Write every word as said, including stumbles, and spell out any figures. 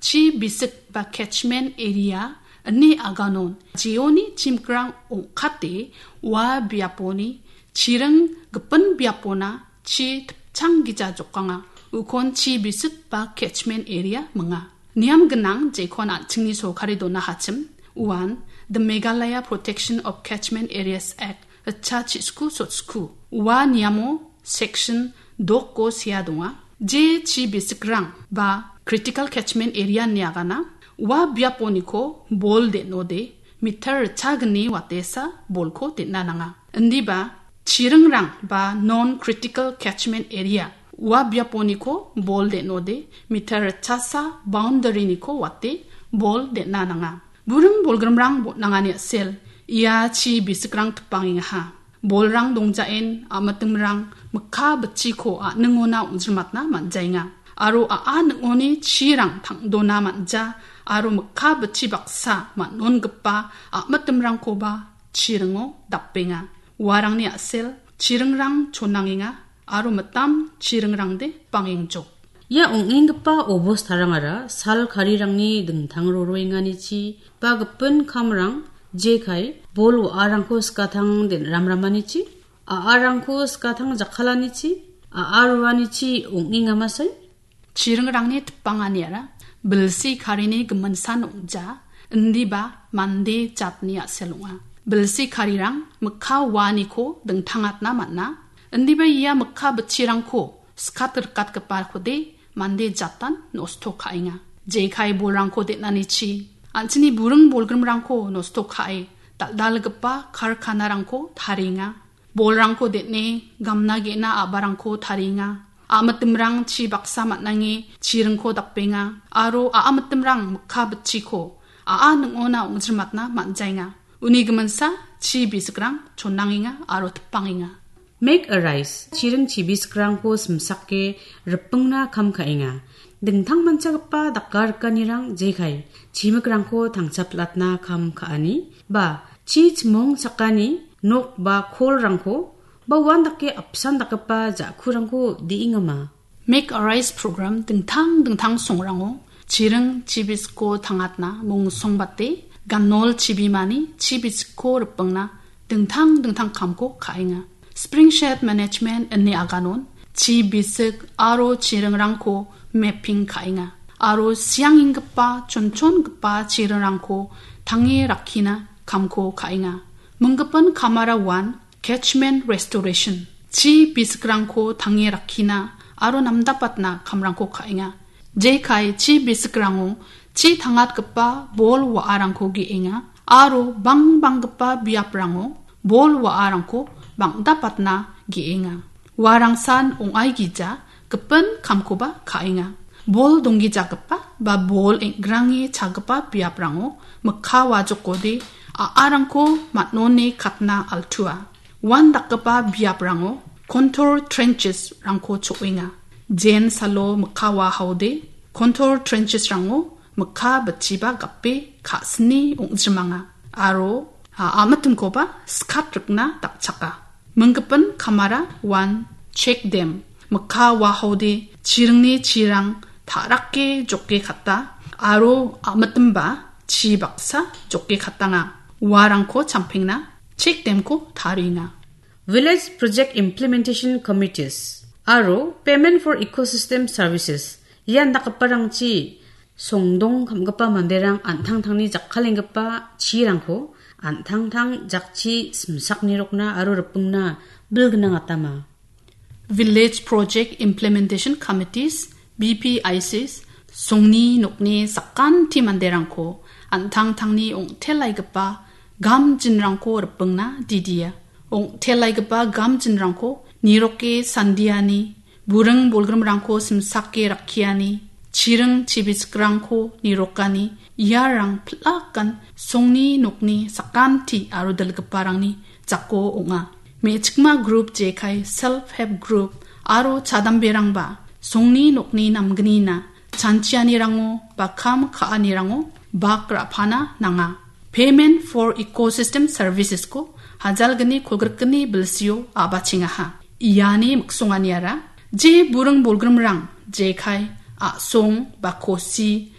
Chi bisik ba catchment area ine aganon jeoni chimikrang ong·kate ua biaponi chiring gipin biapona chi tipchang gija jokanga. Ukon chi bisik ba catchment area minga. Niam gnang jekon an·chingni sorkari donahachim uan the Meghalaya Protection of Catchment Areas Act ritcha chisku sotsku. Ua niamo section dokko sea donga. Je chi bisikrang ba critical catchment area niagana ua biaponiko bol den·ode meter ritchagni watesa bolko den·a nanga. Indiba chiringrang ba non critical catchment area ua biaponiko bol den·ode meter ritchasa boundary-niko wate bol den·a nanga. Buring bolgrimrang botnangani a·sel, ia chi bisikrang tipangengaha. Bolrang dongjaen, a·mitimrang mikka bitchiko a·ningona ong·jirmatna man·jaenga. Aro a·a ning·oni chirang tang·dona man·ja, aro mikka bitchi baksa man·ongipa a·mitimrangkoba chiringo dapenga. Uarangni a·sel, chiringrang chonangenga, aro mitam chiringrangde bangengjok. Ia ong·enggipa obostarangara sal karirangni dingtang roroenganichi ba gipin kamrang jekai bol wa·arangko skatang den·ramramanichi, a·arangko skatang jakkalanichi, a·a ruanichi ong·engamasai. Chiringrangni tipanganiara bilsi karini giminsan ong·ja, indiba mande jatni a·sel ong·a. Bilsi karirang mikka uaniko dingtangatna man·a, indiba ia mikka bitchirangko skat rikatgipakode mande jatan nosto ka·enga. Jekai bolrangko den·anichi, an·chingni buring bolgrimrangko nosto ka·e, dal·dalgipa karkanarangko tarienga. Bolrangko den·e, gamna ge·na a·barangko tarienga. A·mitimrang chi baksa man·ange chiringko dapenga, aro a·a mitimrang mikka bitchiko a·a ning·ona ong·jirmatna man·jaenga. Uni giminsa chi bisikrang chonangenga aro tipangenga. Make a rice, chiring chibisikrangko simsake ripingna kam ka·enga. Dingtangmanchagipa dakarikanirang jekai chimikrangko tangchaplatna kam ka·ani, ba chi chimong chakani nok ba kolrangko ba uandake apsan dakgipa ja·kurangko de·engama. Make a Rice program dingtang dingtang songrango chiring chibisiko tangatna mungsongbate ganol chibimani chibisiko ripingna dingtang dingtang kamko ka·enga. Spring Shed Management ine aganon chibisik aro chiringrangko mapping ka·enga. Aro siangenggipa chonchongipa chiringrangko tange rakkina kamko ka·enga. Minggipin kamara uan catchment restoration, chi bisikrangko tange rakkina aro namdapatna kamrangko ka·enga. Jekai chi bisikrango chi tangatgipa bol wa·arangko ge·enga aro bangbanggipa biaprango bol wa·arangko bang·dapatna ge·enga. Uarangsan ong·aigija gipin kamkoba ka·enga. Bol donggijagipa ba bol eng·grange chagipa biaprango mikka wajokode a·arangko man·one katna altua. Uandakgipa biaprango contour trenches-rangko cho·enga. Jen salo mikka wahaode contour trenches-rango mikka bitchiba gape ka·sini ong·jrimanga aro a-, a·mitimkoba skat rikna dakchaka. Minggipin kamara uan check dam, mikka wahaode chiringni chirang ta·rake joke kata aro a·mitimba chi baksa joke katanga. Uarangko champengna check dam-ko tarienga. Village Project Implementation Committees aro Payment for Ecosystem Services ian dakgiparangchi songdong kamgipa manderang an·tangtangni jakkalenggipa chirangko an·tangtang jakchi simsaknirokna aro ripingna bilgnangatama. Village Project Implementation Committees, V P I Cs, songni nokni sakanti manderangko an·tangtangni ong·telaigipa gamjinrangko ripingna didia. Ong·telaigipa gamjinrangko niroke sandiani, buring bolgrimrangko simsake rakkiani, chiring chibisikrangko nirokani, iarang pilakan songni nokni sakanti aro dilgiparangni jako ong·a. Me·chikma group jekai self help group aro chadamberangba songni nokni namgnina chanchianirango ba kam ka·anirango bak ra·pana nanga. Payment for Ecosystem Services-ko hajalgni kolgrikgni bilsio a·bachengaha. Iani miksonganiara je buring bolgrimrang jekai a·song ba kosi